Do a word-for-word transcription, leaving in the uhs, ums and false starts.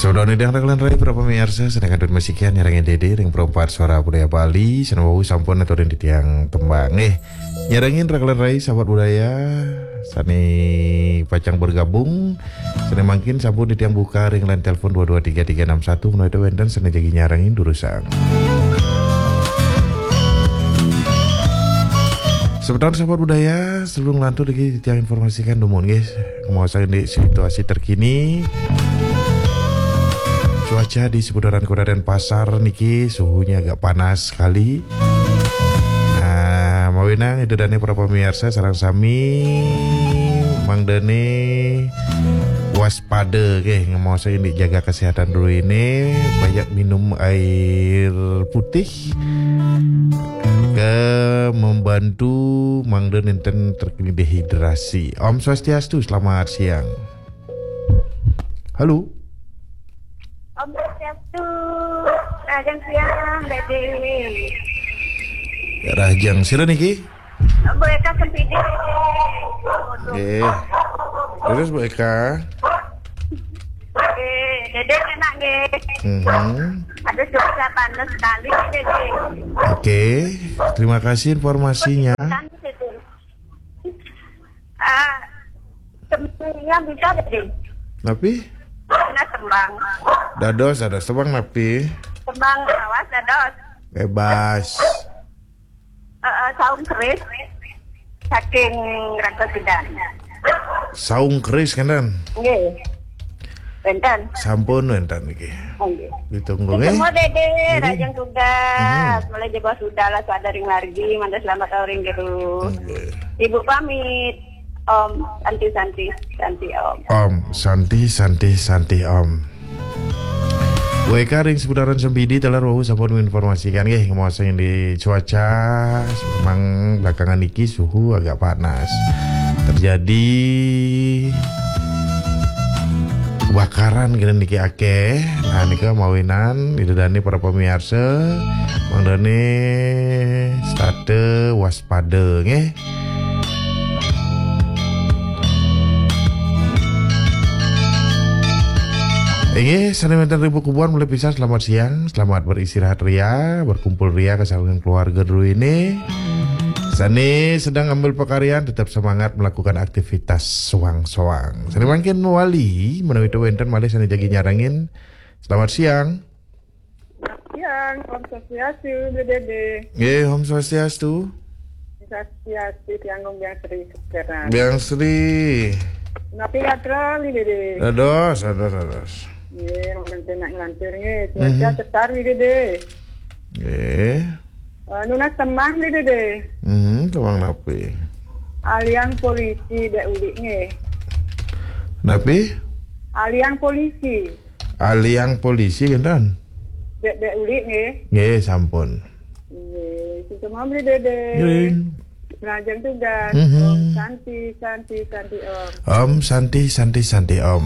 Saudara nidang raka lan rai para pamiarsa, sané kantun masikian nyarengin Dédé ring Perempat Suara Budaya Bali, sané wau sampun aturin titiang tembang. Eh, nyarengin raka lan rai sahabat budaya, sané pacang bergabung, sané mangkin sampun titiang buka ring line telepon dua dua tiga tiga enam satu, menawi wénten sané jagi nyarengin durusang. Sebentar sahabat budaya, sebelum lantur lagi titiang informasikan dumun nggih, kemaosan di situasi terkini. Cuaca di seputaran Kota Denpasar niki suhunya agak panas sekali. Nah, mawinan Ida dané para pamiarsa sareng sami mangdané waspada nggih, ngemaosan indik jaga kesehatan dulu ini, banyak minum air putih ke membantu mangda nénten terkena dehidrasi. Om Swastiastu, selamat siang. Halo. Om Swastiastu. Rahajeng siang, Dédé. Rahajeng, sira niki? Bu Eka Sempidi. Nggih. Terus Bu Eka? Nggih, Dédé enak nggih. Mhm. Aduh, cuaca panas sekali, Dédé. Oke, terima kasih informasinya. Kan, Dédé. Ah, tembangnya bisa, Dédé. Napi? Nah, tembang. Dados, dados tembang napi? Tembang awas, dados. Bebas. Eh, eh, saung keris saking Rangka Sidan. Saung keris kan? Nggih. Wénten. Sampun wénten niki. Nggih. Ditunggu nggih. Ketemu Dédé, nggih. Rahajeng tugas. Hmm. Mulai jebos sudah lah sadering margi, mangda selamat sore nggih. Nggih. Ibu pamit. Om Santi Santi Santi Om. Om Santi Santi Santi Om. W K ring seputaran Sempidi taler wau sampun menginformasikan nggih, ngemaosan di cuaca memang belakangan niki suhu agak panas. Terjadi kebakaran kena niki akeh. Nah, nika mawinan Ida dané para pamiarsa mangdané setata waspada nggih. Inggih, sané wénten ring pakubuhan mulai pisan selamat siang, selamat beristirahat ria, berkumpul ria kesawangan keluarga dulu ini. Sané sedang ambil pekaryan tetap semangat melakukan aktivitas soang-soang. Sané mangkin wali menawi wénten malih sané jagi nyarengin. Selamat siang. Siang, Om Swastiastu, Bu Dédé. Nggih, Om Swastiastu. Swastiastu, tiang Om Biang Sri Keseran. Biang Sri. Napi gatra, Bu Dédé? Dados, dados, dados. Nggih, mangkin enak nglantur nggih. Cuaca Mhm. cetar, Bu Dédé. Nggih. Eh, nunas tembang, Bu Dédé. Mhm, tembang napi? Aliang polisi, Dék Ulik nggih. Napi? Aliang polisi. Aliang polisi, kinten? Dék, Dék Ulik nggih. Nggih, sampun. Nggih, sugeng mawon, Dédé. Nggih. Rahajeng tugas. Mhm. Om Santi, Santi, Santi Om. Om Santi, Santi, Santi Om.